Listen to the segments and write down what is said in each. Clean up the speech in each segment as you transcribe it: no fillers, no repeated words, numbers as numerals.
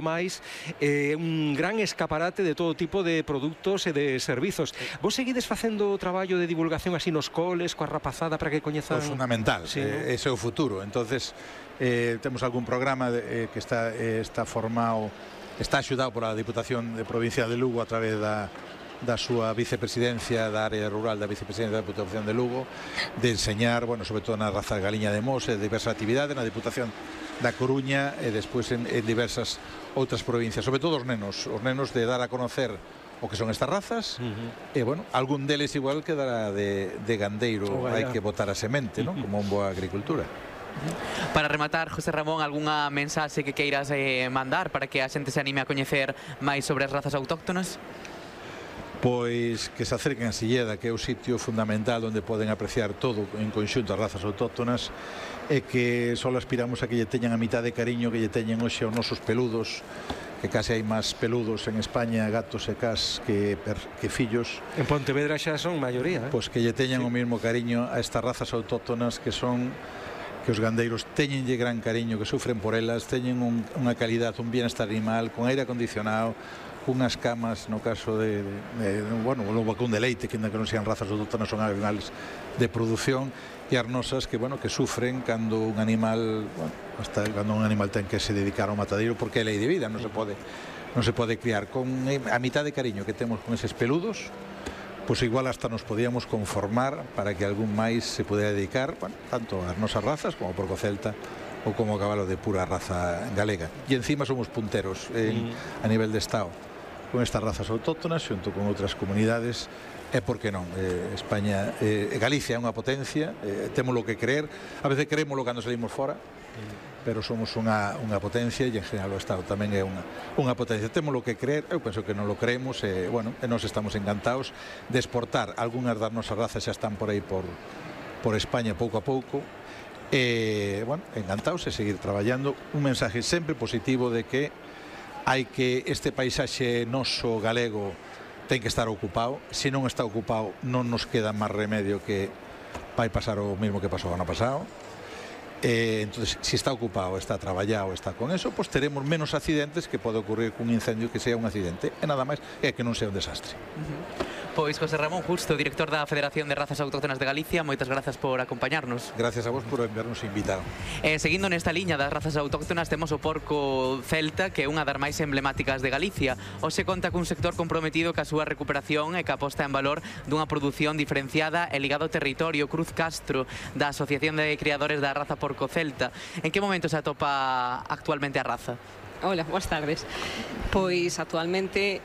máis un gran escaparate de todo tipo de produtos e de servizos. Vos seguides facendo o traballo de divulgación así nos coles, coa rapazada para que coñezan? É fundamental, sí, ese é o futuro. Entonces temos algún programa que está formado, está axudado pola Diputación de Provincia de Lugo a través da súa vicepresidencia da área rural da vicepresidencia da Diputación de Lugo, de enseñar, bueno, sobre todo na raza galiña de Mos, diversas actividades na Diputación da Coruña e despois en diversas outras provincias, sobre todo os nenos de dar a conocer o que son estas razas, e, bueno, algún deles igual quedará de gandeiro, hai que botar a semente, ¿no? Como en boa agricultura. Para rematar, José Ramón, algunha mensaxe que queiras mandar para que a xente se anime a coñecer máis sobre as razas autóctonas? Pois que se acerquen a Silleda, que é o sitio fundamental onde poden apreciar todo en conxunto as razas autóctonas, e que só aspiramos a que lle teñan a mitad de cariño que lle teñen hoxe aos nosos peludos, que case hai máis peludos en España, gatos e cas, que fillos. En Pontevedra xa son maioría, Pois que lle teñan o mesmo cariño a estas razas autóctonas que son, que os gandeiros teñenlle gran cariño, que sufren por elas, teñen unha calidad, un bienestar animal, con aire acondicionado, unhas camas, no caso bueno, o vacún de leite, que ainda que non sean razas autóctonas, son animales de produción, e as nosas que, bueno, que sufren cando un animal, bueno, hasta cando un animal ten que se dedicar ao matadeiro, porque é lei de vida, non se pode criar. Con a mitad de cariño que temos con eses peludos, pois igual hasta nos podíamos conformar para que algún máis se pudera dedicar, bueno, tanto ás nosas razas como ao porco celta ou como o cabalo de pura raza galega. E encima somos punteros a nivel de Estado con estas razas autóctonas xunto con outras comunidades. E por que non? España, Galicia é unha potencia, temos lo que creer, a veces creémoslo cando salimos fora, pero somos unha potencia, e en general o Estado tamén é unha potencia. Temos lo que creer, eu penso que non lo creemos, e bueno, nós estamos encantados de exportar. Algúnas das nosas razas xa están por aí por España pouco a pouco, e bueno, encantados de seguir traballando. Un mensaje sempre positivo de que hai que este paisaxe noso galego ten que estar ocupado. Se non está ocupado, non nos queda máis remedio que vai pasar o mesmo que pasou o ano pasado. Entonces, se está ocupado, está traballado, está con eso, pues teremos menos accidentes que pode ocurrir cun incendio que sea un accidente, e nada máis é que non sea un desastre. Pois José Ramón Justo, director da Federación de Razas Autóctonas de Galicia, moitas grazas por acompañarnos. Gracias a vos por habernos invitado. Seguindo nesta liña das razas autóctonas, temos o porco celta, que é unha das máis emblemáticas de Galicia. Hoxe conta cun sector comprometido ca súa recuperación e ca posta en valor dunha produción diferenciada e ligado ao territorio. Cruz Castro, da Asociación de Criadores da Raza Porco Celta. En que momento se atopa actualmente a raza? Hola, boas tardes. Pois actualmente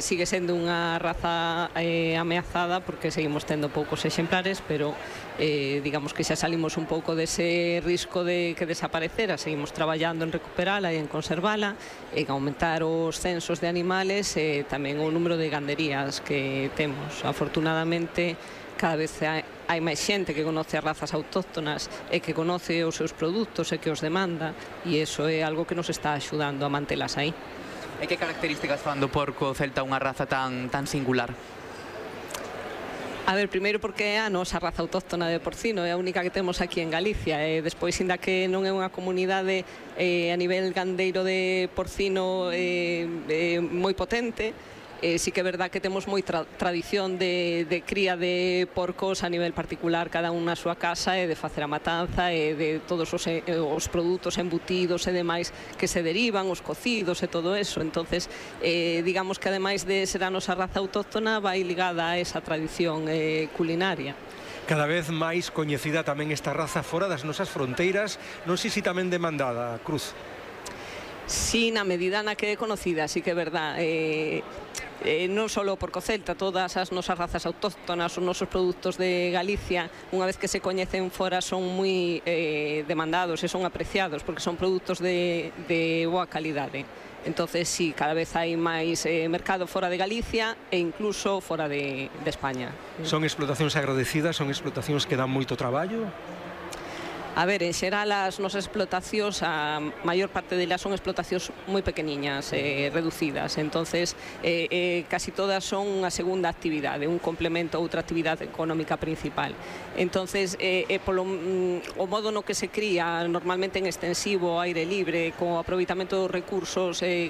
sigue sendo unha raza ameazada porque seguimos tendo poucos exemplares, pero digamos que xa salimos un pouco dese risco de que desaparecera. Seguimos traballando en recuperala e en conservala, en aumentar os censos de animales e tamén o número de ganderías que temos. Afortunadamente, cada vez hai máis xente que conoce as razas autóctonas e que conoce os seus produtos e que os demanda, e iso é algo que nos está axudando a mantelas aí. E que características fan do porco celta unha raza tan singular? A ver, primeiro porque é a nosa raza autóctona de porcino, é a única que temos aquí en Galicia, e despois, inda que non é unha comunidade a nivel gandeiro de porcino moi potente, sí que é verdad que temos moi tradición de cría de porcos a nivel particular, cada un na súa casa, e de facer a matanza e de todos os produtos embutidos e demais que se derivan, os cocidos e todo eso. Entonces, digamos que ademais de ser a nosa raza autóctona, vai ligada a esa tradición culinaria. Cada vez máis coñecida tamén esta raza fora das nosas fronteiras, non sei se tamén demandada, Cruz. Sí, na medida na que é conocida, sí que é verdad. Non só o porco celta, todas as nosas razas autóctonas, os nosos produtos de Galicia, unha vez que se coñecen fora, son moi demandados e son apreciados, porque son produtos de boa calidade. Entonces, sí, cada vez hai máis mercado fora de Galicia e incluso fora de España. Son explotacións agradecidas, son explotacións que dan moito traballo? A ver, en xeral as nosas explotacións, a maior parte delas son explotacións moi pequeniñas, reducidas, entonces casi todas son unha segunda actividade, un complemento a outra actividade económica principal. Entonces, o modo no que se cría normalmente en extensivo, aire libre, co aproveitamento dos recursos que